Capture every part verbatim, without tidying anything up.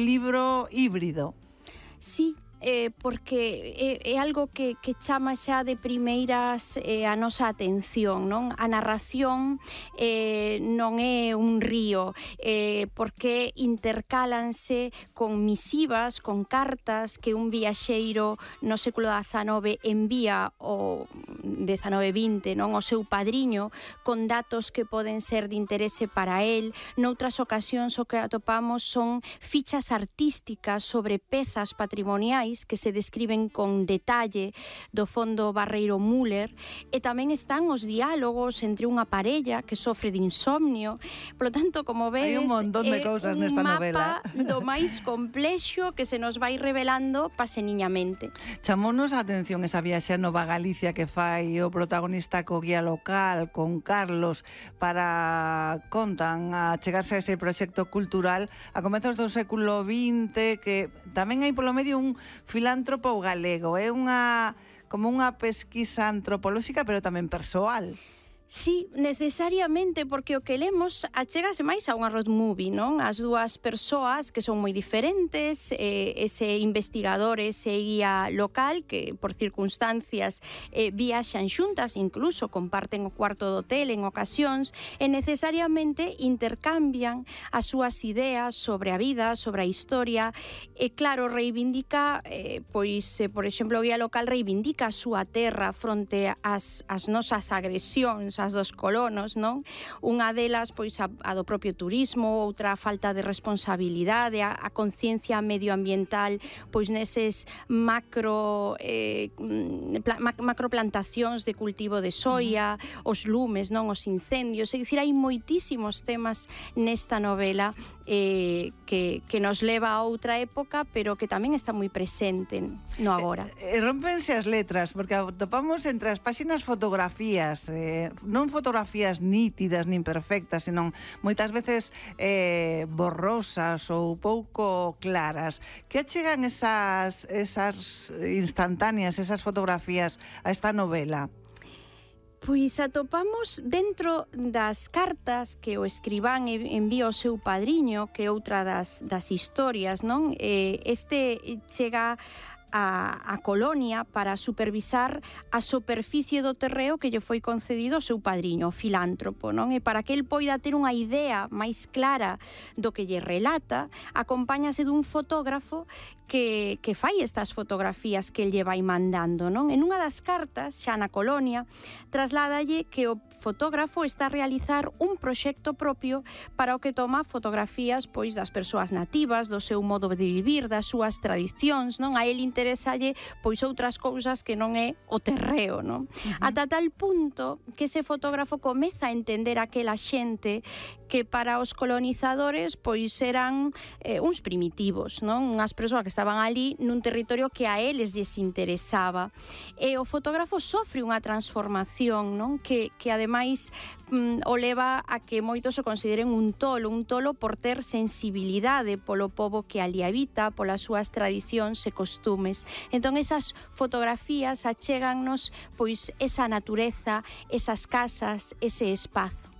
libro híbrido. Sí, eh, porque é, é algo que, que chama xa de primeiras eh, a nosa atención, non? A narración eh, non é un río, eh, porque intercálanse con misivas, con cartas que un viaxeiro no século dezanove envía o dezanove vinte, non, o seu padriño, con datos que poden ser de interese para el. Noutras ocasións o que atopamos son fichas artísticas sobre pezas patrimoniais que se describen con detalle do fondo Barreiro Müller, e tamén están os diálogos entre unha parella que sofre de insomnio. Por lo tanto, como vedes, hai un montón de cousas nesta novela. É un mapa do máis complexo que se nos vai revelando paseniñamente. Chamounos a atención esa viaxe a Nova Galicia que fai o protagonista co guía local, con Carlos, para, contan, a chegarse a ese proxecto cultural a comezos do século vinte, que tamén hai polo medio un filántropo galego, é unha como unha pesquisa antropolóxica, pero tamén persoal. Sí, necesariamente, porque o que lemos achégase máis a unha road movie, non? As dúas persoas que son moi diferentes, eh, ese investigador, ese guía local que por circunstancias eh, viaxan xuntas, incluso comparten o cuarto do hotel en ocasións, e necesariamente intercambian as súas ideas sobre a vida, sobre a historia, e claro, reivindica, eh, pois, eh, por exemplo, o guía local reivindica a súa terra fronte ás, ás nosas agresións, as dos colonos, non? Unha delas, pois, a, a do propio turismo, outra a falta de responsabilidade, a, a conciencia medioambiental, pois neses macro eh, pla, macroplantacións de cultivo de soia, uh-huh. os lumes, non? Os incendios, é dicir, hai moitísimos temas nesta novela eh, que, que nos leva a outra época, pero que tamén está moi presente no agora. Eh, eh, rompense as letras, porque atopamos entre as páxinas fotografías, eh, non fotografías nítidas nin perfectas, senón moitas veces eh, borrosas ou pouco claras. Que achegan esas, esas instantáneas, esas fotografías a esta novela? Pois atopamos dentro das cartas que o escribán envía ao seu padriño, que é outra das, das historias, non? Eh, este chega A, a colonia para supervisar a superficie do terreo que lle foi concedido ao seu padriño, o filántropo, non? E para que el poida ter unha idea máis clara do que lle relata, acompáñase dun fotógrafo que, que fai estas fotografías que el lle vai mandando, non? En unha das cartas, xa na colonia, trasládalle que o fotógrafo está a realizar un proxecto propio para o que toma fotografías, pois, das persoas nativas, do seu modo de vivir, das súas tradicións, non? A el interesalle, pois, outras cousas que non é o terreo, non? Uh-huh. Ata tal punto que ese fotógrafo comeza a entender aquela xente que para os colonizadores, pois, eran eh, uns primitivos, non? Unhas persoas que estaban ali nun territorio que a eles lles interesaba. E o fotógrafo sofre unha transformación, non? Que, que ademais mm, o leva a que moitos o consideren un tolo, un tolo por ter sensibilidade polo pobo que ali habita, polas súas tradicións e costumes. Entón, esas fotografías achégannos, pois, esa natureza, esas casas, ese espazo.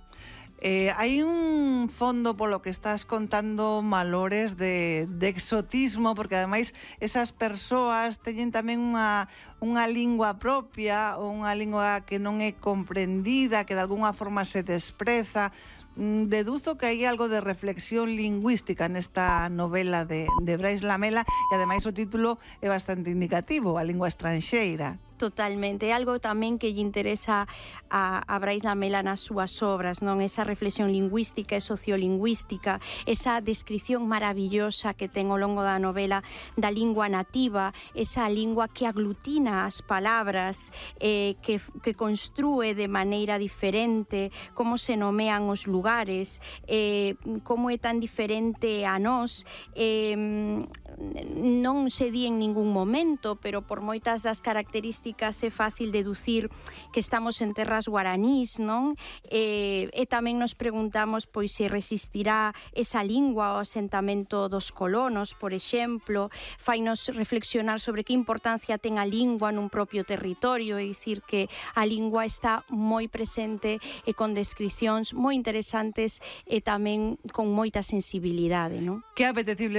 Eh, hai un fondo polo que estás contando valores de, de exotismo, porque ademais esas persoas teñen tamén unha, unha lingua propia, ou unha lingua que non é comprendida, que de alguna forma se despreza. Deduzo que hai algo de reflexión lingüística nesta novela de, de Brais Lamela, e ademais o título é bastante indicativo, a lingua estranxeira. Totalmente, é algo tamén que lle interesa a, a Brais Lamela nas súas obras, non? Esa reflexión lingüística e sociolingüística, esa descripción maravillosa que ten ao longo da novela da lingua nativa, esa lingua que aglutina as palabras, eh, que, que construe de maneira diferente, como se nomean os lugares, eh, como é tan diferente a nós, eh, non se di en ningún momento, pero por moitas das características é fácil deducir que estamos en terras guaranís, non? E, e tamén nos preguntamos pois se resistirá esa lingua ao asentamento dos colonos, por exemplo, fainos reflexionar sobre que importancia ten a lingua nun propio territorio, é dicir que a lingua está moi presente e con descricións moi interesantes e tamén con moita sensibilidade, non? Que apetecible